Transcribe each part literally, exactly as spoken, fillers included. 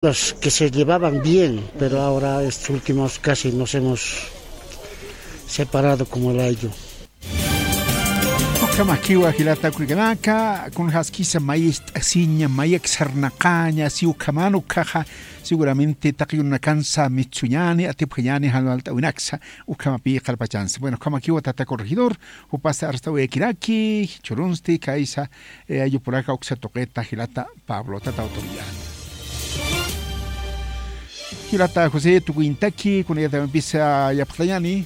Los que se llevaban bien, pero ahora estos últimos casi nos hemos separado como el ayllu. Ukhamakiwa jilata kurkanaka, kunjaskisa mayist'asiña, mayak sarnaqaña, si ukhaman ukhaxa, seguramente taqi urunakansa mitsuñani, atipjañani, jan walt'awinaksa, ukhamapi qallpachansa. Bueno, ukhamakiwa tata corregidor, jupasa arst'awayakiraki, jichhürunsti kaysa, eh, ayllupuraka uksa tuqita jilata Pablo, tata autoridad. Jilata José, tukuñtaki, kunayatamampisa yapxtañani.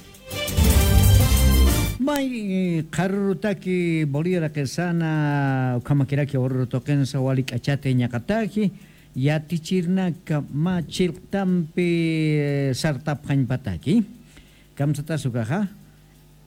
May, eh, qharürutaki Bolivia raqisana, ukhamakiraki ururu tuqinsa wali k'achati ñaqataki, yatichirnaka mä chilqtampi, eh, sartapxañpataki. Kamsatas ukaxa,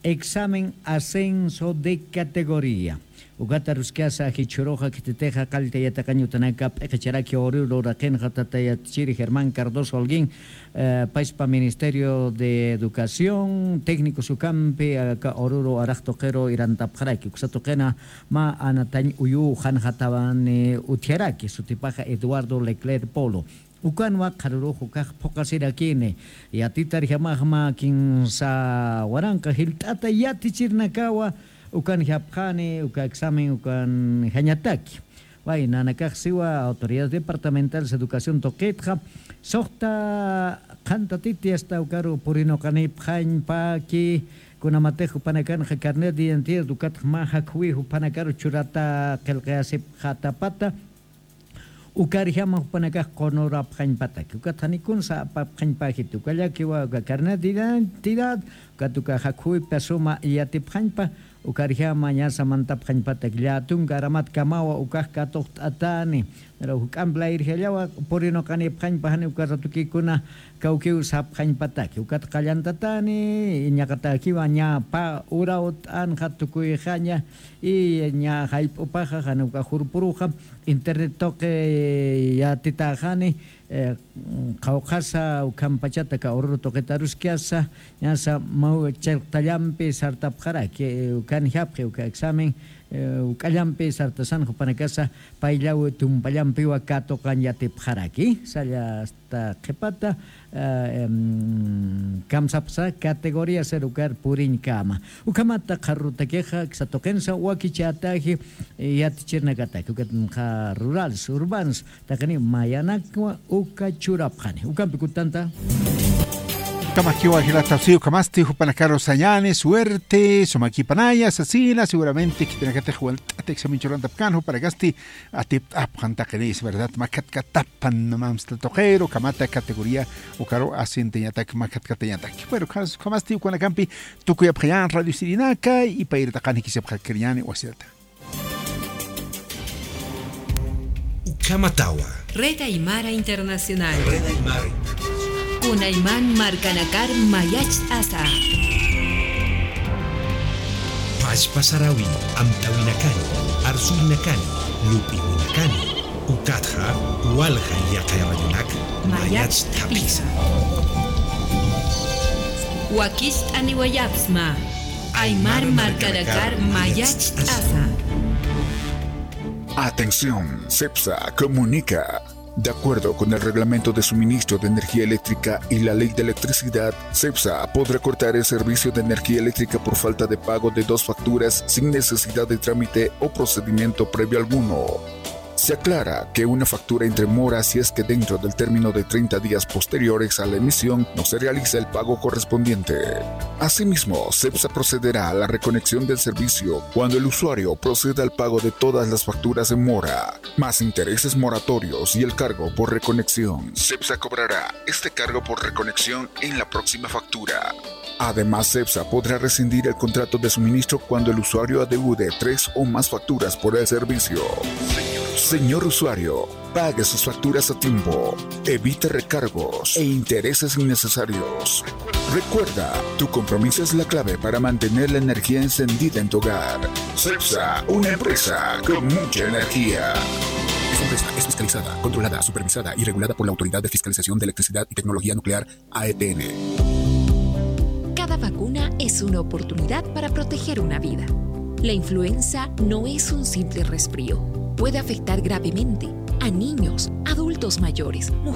examen ascenso de categoría. Ukat aruskasa jichhüruxa khititixa qallta yatiqañ utanaka p'iqicharaki ururu raqinxa tata yatichiri Germán Cardoso Holguín, eh, payspa Ministerio de Educación, técnicos ukampi, aka ururu araq tuqiru irantapxaraki. Uksa tuqina mä anatañ uyu qhanxatawani utjaraki, sutipaxa Eduardo Leclerc Polo. Ukanwa qharürux ukax phuqasirakini, yatitarjamaxma kinsa waranqa jilt'ata yatichirnakawa ukanjapxani, uka examen ukanjañataki. Way, nanakax siwa autoridades departamentales educación tuqitxa, suxta qhantatiti hasta ukaru purinuqanipxañpaki, kunamatix jupanakanxa carnet de identidad ukatxa mä jakhuwi jupanakaru churata qillqayasipxatapata, ukarjama jupanakax qunurapxañpataki. Ukat janiw kunsa apapxañpäjiti. Ukallakiwa uka carnet de identidad, ukat uka jakhuwipa suma yatipxañpa, ukarjama ñasa mantapxañpatak. Llätunka aramatkamawa ukax katuqt'atani. Pero juk'amp layirjallawa purinuqanipxañpa jani uka ratukikuna kawkiw sapxañpataki. Ukat qallantatani, ñaqatakiwa ña pä urawt'anxa tukuyxaña, y ña jayp'upaxa, jani uka jurpuruxa, internet tuqi yatitäxani, eh, qhawqhasa ukhampachata aka ururu tuqita aruskasa, ñasa maw challqtallampi sartapxaraki, eh, ukanjapxi uka examen, eh, uk'allampi sartasan jupanakasa, payllaw tumpallampiwa katuqañ yatipxaraki, salla ta qhipata, eh, em, kamsapxsa categoría ser ukar puriñkama. Ukhamata qharürutakixa, aksa tuqinsa wakichätaji, eh, yatichirnakataki, ukat qha rurales, urbanos, taqini mayanakwa uka churapxani. Ukampi kutanta. Ukhamakiwa jilata, si ukhamasti jupanakaru sañani, suerte, sumakipanaya, sasina, seguramente khitinakatix walt'ata examen churantapkän, jupanakasti atipt'apxan taqinisa, ¿verdad? Makhatkatapxan, mamsta tuqiru, ukhamata categoría, ukaru ascendeñatak, makhatkatañatak. Bueno, ukhamasti ukanakampi tukuyapxañän radio sirinaka, y payri taqan jikisipxakiriñäni wasirata. Ukhamatawa. Red Aymara Internacional. Red Aymara Internacional. Kunayman markanakar mayacht'asa. Pachpa sarawin, amtawinakani, arsuynakani, lup'iwinakani, ukatxa walja yaqha radionak mayacht'apxisa. Wakicht'aniwayapxsma. Aymar markanakar mayacht'asa. Atención, SEPSA comunica. De acuerdo con el Reglamento de Suministro de Energía Eléctrica y la Ley de Electricidad, SEPSA podrá cortar el servicio de energía eléctrica por falta de pago de dos facturas sin necesidad de trámite o procedimiento previo alguno. Se aclara que una factura entra en mora si es que dentro del término de treinta días posteriores a la emisión no se realiza el pago correspondiente. Asimismo, SEPSA procederá a la reconexión del servicio cuando el usuario proceda al pago de todas las facturas en mora, más intereses moratorios y el cargo por reconexión. SEPSA cobrará este cargo por reconexión en la próxima factura. Además, SEPSA podrá rescindir el contrato de suministro cuando el usuario adeude tres o más facturas por el servicio. Señor usuario, pague sus facturas a tiempo. Evite recargos e intereses innecesarios. Recuerda, tu compromiso es la clave para mantener la energía encendida en tu hogar. SEPSA, una empresa con mucha energía. Esta empresa es fiscalizada, controlada, supervisada y regulada por la Autoridad de Fiscalización de Electricidad y Tecnología Nuclear, A E T N. Cada vacuna es una oportunidad para proteger una vida. La influenza no es un simple resfrío. Puede afectar gravemente a niños, adultos mayores, mujeres,